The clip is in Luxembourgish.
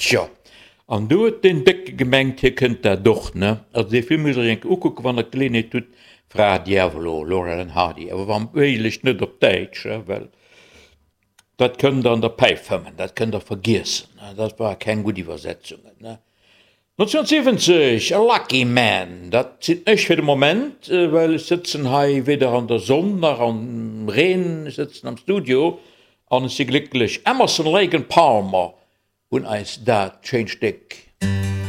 Tjo, an du huet deen Décke gemengt, hie kënnt dat och, ne? Also dee Film musst der iech eng Kéier ukucken, wann der d'Geleeënheet hutt, Fra Diavolo, Laurel and Hardy, awer wa méiglech net op Däitsch, well dat kënnt der an der Päif fëmmen, dat kënnt der vergiessen, dat war keng gutt Iwwersetzungen, ne? 1970, A Lucky Man, dat sinn ech fir de Moment, well ech sëtzen hei weder an der Sonn nach am Reen, ech sëtzen am Studio an ech si glécklech. Emerson, Lake and Palmer hunn eis dat schéint Stéck.